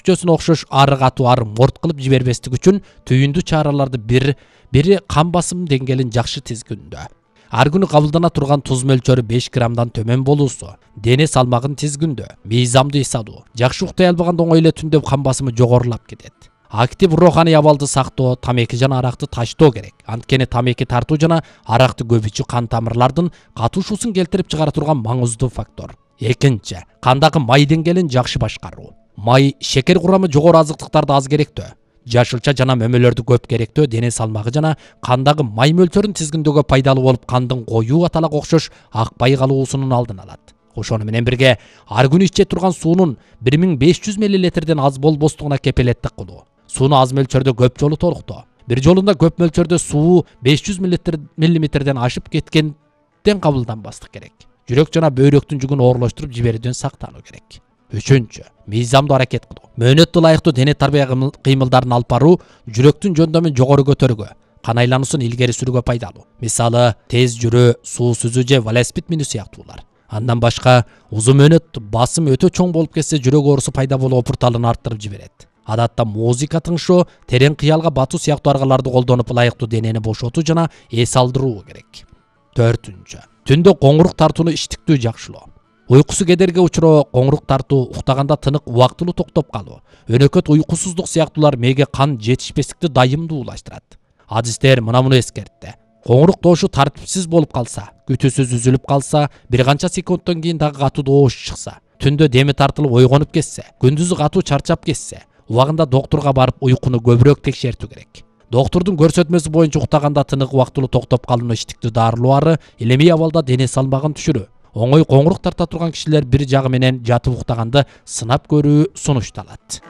сүтчөсүнө окшош ары катуу ары морт кылып жибербестик үчүн түйүндүү чараларды бири кан басым деңгээлин жакшы тизгүндөө. Ар күнү кабылдана турган туз мөлчөрү 5 граммдан төмөн болуусу, дене салмагын тизгүндөө, мыйзамды эс алуу, жакшы уктай албаганда оңой эле түндө кан басымы жогорулап кетет. Актив руханий абалды сактоо, тамеки жана аракты таштоо керек. Анткени тамеки тартуу жана аракты көп ичүү кан тамырлардын катышуусун келтирип чыгара турган маңыздуу фактор. Экинчи, кандагы май деңгээлин жакшы башкаруу. Май шекер курамы жогору азыктыктарды аз керектөө, жашылча жана мөмөлөрдү көп керектөө, дене салмагы жана кандагы май мөлчөрүн тизгиндөөгө пайдалуу болуп, кандын коюу аталак окшош акпай калуусунун алдын алат. Ошону менен бирге ар күнү иче турган суунун 1500 мл аз болбостугуна кепилеттик кылуу. Сууну аз мөлчөрдө көп жолу толуктоо. Бир жолунда көп мөлчөрдө суу 500 мм ашып кеткенден кабылданбастык керек. Жүрөк жана бөйрөктүн жүгүн оорлоштуруп жиберүүдөн сактануу керек. Үчүнчү, мыйзамдуу аракет кылуу. Мөөнөттү ылайыктуу дене тарбия кыймылдарын алып баруу жүрөктүн жөндөмүн жогору көтөрүүгө, кан айлануусун илгери сүрүүгө пайдалуу. Мисалы, тез жүрүү, суу сүзүү же велосипед минүү сыяктуулар. Андан башка, узун мөөнөт басым өтө чоң болуп кетсе, жүрөк оорусу пайда болуп опурталын арттырып жиберет. Адатта музыка тыңшоо, терең кыялга батуу сыяктуу аргаларды колдонуп ылайыктуу денени бошотуу жана эс алдыруу керек. Төртүнчү, түндө коңурук тартууну иштиктүү жакшылоо. Уйкусу кедерге учуроо, коңурук тартуу, уктаганда тынык убактылуу токтоп калуу, өнөкөт уйкусуздук сыяктуулар мээге кан жетишпестикти дайымдуулаштырат. Адистер муну эскертти. Коңурук тоошу тартипсиз болуп калса, күтүүсүз үзүлүп калса, бир канча секундтан кийин дагы катуу доош чыкса, түндө деми тартылып ойгонуп кетсе, күндүзү катуу чарчап кетсе, убагында доктурга барып уйкуну көбүрөөк текшертүү керек. Доктурдун көрсөтмөсү боюнча уктаганда тынык убактылуу токтоп калууну иштиктүү дарылоолары илемий абалда дене салмагын түшүрүү. Оңой коңурук тарта турган кишилер бир жагы менен жатып уктаганды сынап көрүү сунушталат.